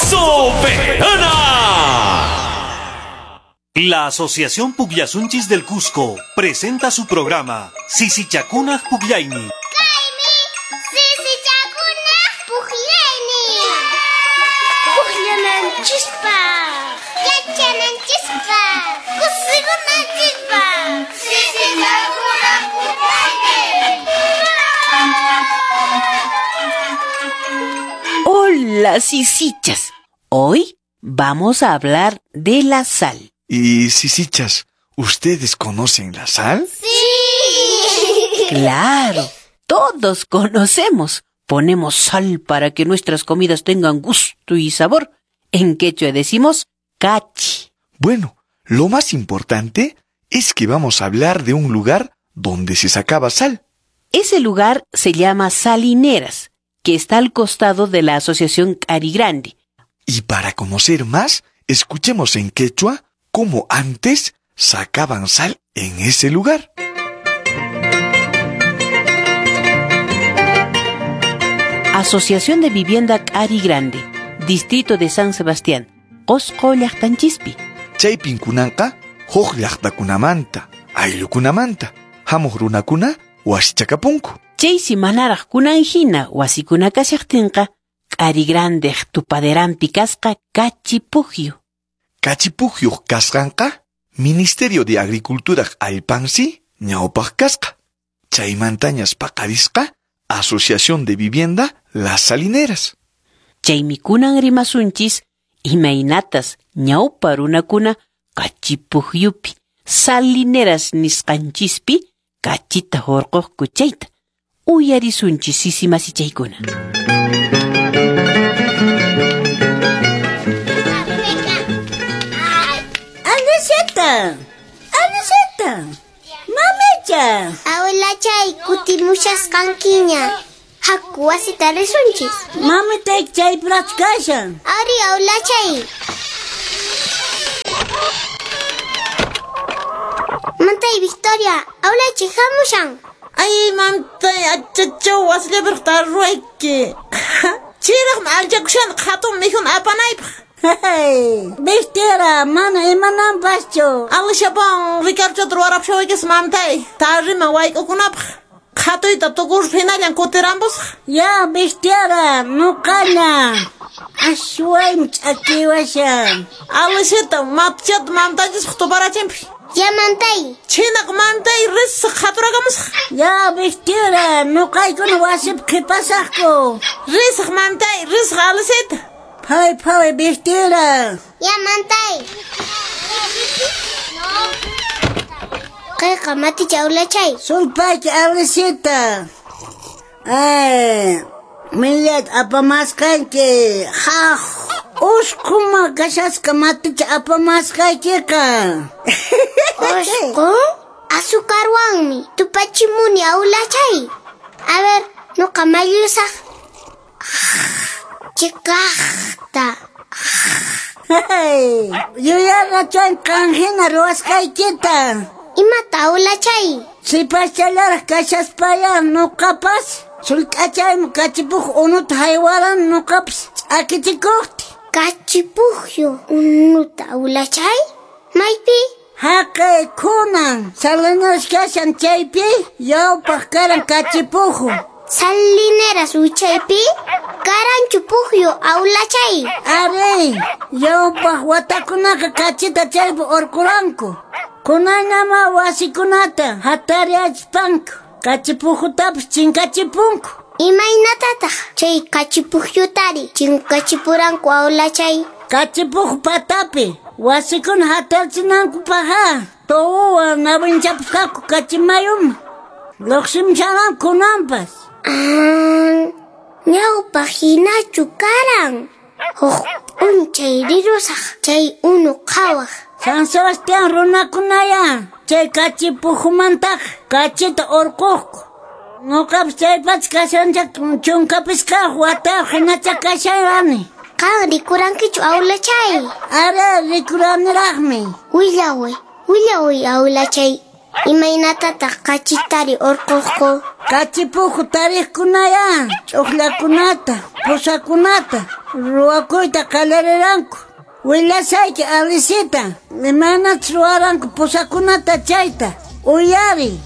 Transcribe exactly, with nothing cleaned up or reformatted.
¡Soberana! La Asociación Pukllasunchis del Cusco presenta su programa Sisichakunaq Pukllaynin. Kaymi Sisichakunaq Pukllaynin. Pukllananchispaq, yachananchispaq, kusikunanchispaq. Sisichakunaq Pukllaynin. Hola, sisichas. Hoy vamos a hablar de la sal. Y sisichas, ¿ustedes conocen la sal? ¡Sí! Claro, todos conocemos. Ponemos sal para que nuestras comidas tengan gusto y sabor. En quechua decimos cachi. Bueno, lo más importante es que vamos a hablar de un lugar donde se sacaba sal. Ese lugar se llama Salineras, que está al costado de la Asociación Cari Grande. Y para conocer más, escuchemos en quechua cómo antes sacaban sal en ese lugar. Asociación de Vivienda Cari Grande, Distrito de San Sebastián, Qosqo llaqtanchispi. Chaypin kunanqa huk llaqtakunamanta, ayllukunamanta, hamuq runakuna wasichakapunku. Chaysi manaraq kunan hina wasikuna kashaqtinqa, Cari Grandeq tupaderanpi kasqa Kachipujyu. Kachipujyuq kasqanqa Ministerio de Agriculturaq allpansi ñawpaq kasqa. Chaymantañas paqarisqa Asociación de Vivienda Las Salineras. Chaymi kunan rimasunchis imaynatas ñawpa runakuna Kachipujyupi Salineras nisqanchispi kachita hurquqku chayta. Uyarisunchis sisimasichaykuna. Aniseta, Aniseta, mamicha. Abuelachay, kutimushasqankiña. Haku wasita risunchis. Mamitayki chaypiraqchu kashan. Ari, abuelachay. Mantay, Victoria, abuelachay hamushan. Ay, mamtay, achachaw wasillapiraq tarruayki. Chiraqmi alchakushan hatun mikhuna apanaypaq. Hey, Victoria, mana imananpaschu. Alishapan Ricardochata ruwarapushawaykis mamtay, tarriman wayk'ukunapaq. Qhatuyta tukuruspa hinallan kutirampusaq. Ya, Victoria, nuqaña. Ashwaymi ch'akiwashan. Alishita, matichata mamtaychispaq tuparachinpi. Ya, mantay. Chhinaqa mamtay risaq qhaturakamusaq. Ya, Victoria, nuqaykuna wasipi qhipasaqku. Risaq mamtay, risaq Alishita. Phawi phawi, Victoria. Ya, mantay. Kayqa maticha abuelachay. Sulpayki, Alishita. Ay, millayta apamasqanki. Haq, usqhuma kashasqa maticha apamasqaykiqa. Usqhu? Azucarwanmi tupachimuni abuelachay. A ver, nuqa mayllusaq. Chikaqta. Hey, yuyarqachan qan hina ruwasqaykita. Imata abuelachay? Sipaschallaraq kashaspaya nuqapas sulk'achaymi Kachipujyu unuta haywaran nuqapas ch'akichikuqti. Kachipujyu unuta abuelachay? Maypi? Haqay kunan Salineras kashan chaypi ñawpaq karan Kachipujyu. Salineras wichaypi? Karanchu pujyu abuelachay. Ari, ñawpaq watakunaqa kachita chaypi urquranku. Kunanñama wasikunata hatariyachispanku Kachipujyutapas chinkachipunku. Imaynatataq chay Kachipujyutari chinkachipuranku abuelachay? Kachipujyu patapi wasikuna hatarachinankupaqqa tuwuwan nawinchapusqaku kachimayuma. Lluqsimusharan kunanpas. Ah, ñawpaq hinachu karan. Huk p'unchay rirusaq chay unu qhawaq. San Sebastián runakunaya chay Kachipujyumantaqa kachita urquqku. Nuqapas chaypacha kashanchá chunka pisqayuq watayuq hinacha kasharani. Qan rikurankichu abuelachay? Ari, rikuraniraqmi. Willaway, willaway abuelachay. Imaynatataq kachitari urquqku? Kachipujyu tariqkunaya ch'uqllakunata, pusakunata, Ruwakuyta qallariranku. Willasayki Alicita, imaynachus ruwaranku pusakunata chayta. Uyariy.